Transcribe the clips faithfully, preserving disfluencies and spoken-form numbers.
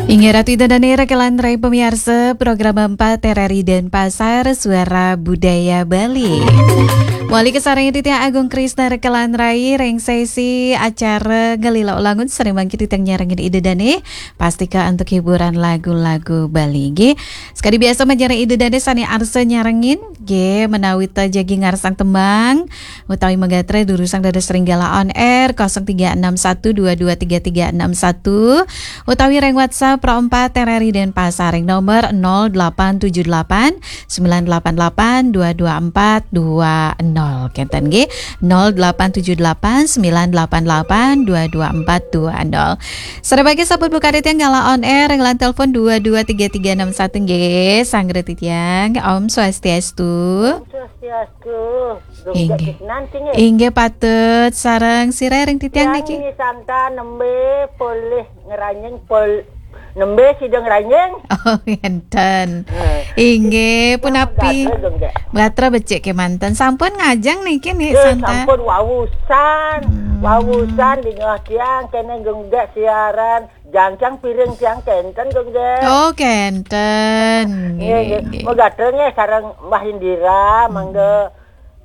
Inggih Ratu Ida Dane rekelan rai pamiarsa program empat R R I Denpasar, Suara Budaya Bali. Mawali kasarengin titiang Agung Krisna rekelan rai ring sesi acara Ngelila Ulangun, sareng mangkin titiang nyarengin Ida Dane, pastika antuk hiburan lagu-lagu Bali. Nggih, sakadi biasa majeng ring Ida Dane sane arsa nyarengin, nggih, menawi ta jagi ngarsang tembang, utawi magatra durusang dados ring Gala On Air kosong tiga enam satu dua dua tiga tiga enam satu, utawi ring WhatsApp Pro empat R R I Denpasar ring nomor nol delapan tujuh delapan sembilan delapan delapan dua dua empat dua nol. Kenten nggih, nol delapan tujuh delapan sembilan delapan delapan dua dua empat dua nol. Sareng mangkin sampun buka titiang Gala On Air ring line telepon dua dua tiga tiga enam satu nggih, sareng titiang. Om Swastiastu. Swastiastu. Inggih. Nanti nggih. Inggih patut sareng sira ring titiang niki. Ni Santa nembe polih ngeranjing pol nembe sida ngeranjing. Oh, ngenten. Eh. Inggih, punapi? Gatra becik kemanten. Sampun ngajeng niki, Ni Santa? Sampun wawusan. Hmm. Wawusan dingeh tiang kene genggek siaran. Jangkang piring tiang kenten genggek. Oh, kenten. Nggih, nggih. Nggih, nggih. Magatra nggih sareng Mbah Indira, hmm, mangga.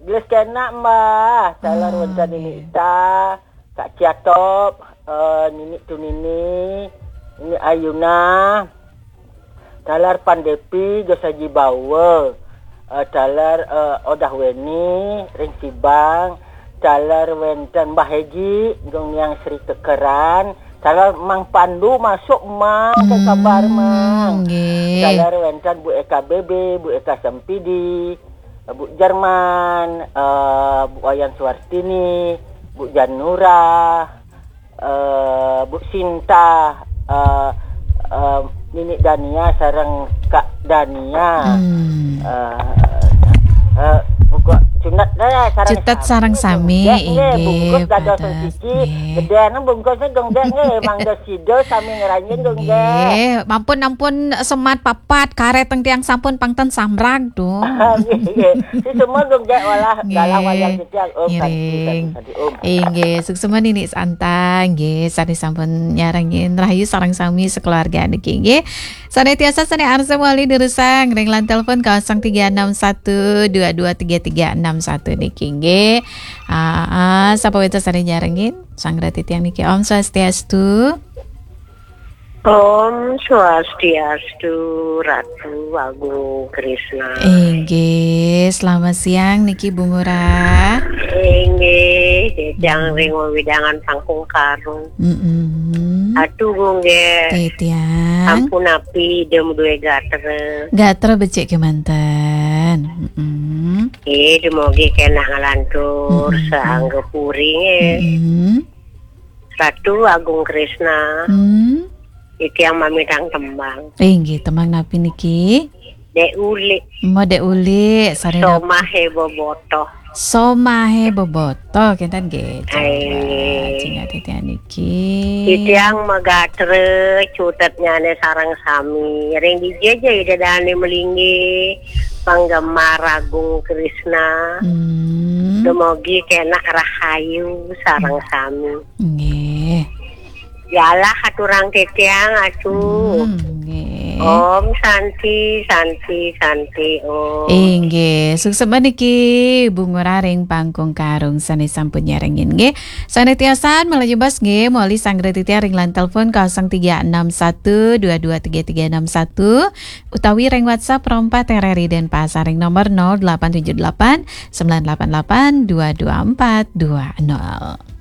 Gelis kena, Mbah. Taler wenten Nini Ita, Kak Ciatop, eh, Nini Tunini, Nini Ayuna, taler Pandepi, Gus Haji Bawa, eh, taler, eh, Odah Weni, ring Sibang, taler wenten Mbah Haji, Gung Niang Sri Kekeran, taler Mang Pandu masuk, Mang, ke kabar, Mang. Nggih. Taler wenten Bu Eka B B, Bu Eka Sempidi, Bu Jerman, eh, Bu Wayan Suartini, Bu Janura, eh, Bu Sinta, eh, eh, Nini Dania sareng Kak Dania. Hmm. Eh, eh, buka cutet deh, sareng Cutet sami. Sareng sami, nggih, nggih, inggih, bungkus dados patut, siji, nggih. Gedene bungkusnya genggek nggih, mangga sida sami ngranjing genggek. Nggih, ampun, ampun semat papat, karet teng tiang sampun pang ten samrag. Duh. Nggih, nggih. Si semua genggek walah dalam wayang titiang. Om Santi, ngiring. Santi, Santi, Om. Inggih, suksma Nini Santa, nggih, sane sampun nyarengin rahayu sareng sami sekeluarga niki, nggih. Sane tiasa sane arsa mawali durusang ring line telepon kosong tiga enam satu dua dua tiga tiga enam satu niki, nggih. Ah, ah, sapa wenten sane nyarengin? Sang rati tiang niki. Om Swastiastu. Om Swastiastu, Ratu Agung Krisna. Inggih, selamat siang niki Bu Ngurah. Inggih, titiang ring wewidangan Pangkung Karung. Mm-mm. Atu Bu nggih. Titiang. Ampun api dem duwe gatra. Gatra becik kemanten. Mm-mm. Nggih, dumogi kena ngalantur, mm-mm, saangga puri nggih. Mm-mm. Ratu Agung Krisna. Hmm. Titiang mamitang tembang. Inggih, tembang napi niki? Dek Ulik. Mo Dek Ulik, sareng nap- Somahe Bobotoh. Somahe Bobotoh, kenten nggih. Coba, inggih. Cingak titiang niki. Titiang magatra cutetnyane sareng sami. Ring dija ja Ida Dane malinggih, penggemar Agung Krisna. Hmm. Dumogi kena rahayu sareng sami. Nggih. Yalah aturang titiang atu. Hmm, nggih. Om Santi, Santi, Santi, Om. Inggih, suksma niki Bu Ngurah ring Pangkung Karung sane sampun nyarengin nggih. Sane tiosan malajeng bas nggih, mawali sanggra titiang ring line telepon kosong tiga enam satu dua dua tiga tiga enam satu utawi ring WhatsApp Pro empat R R I Denpasar ring nomor nol delapan tujuh delapan sembilan delapan delapan dua dua empat dua nol.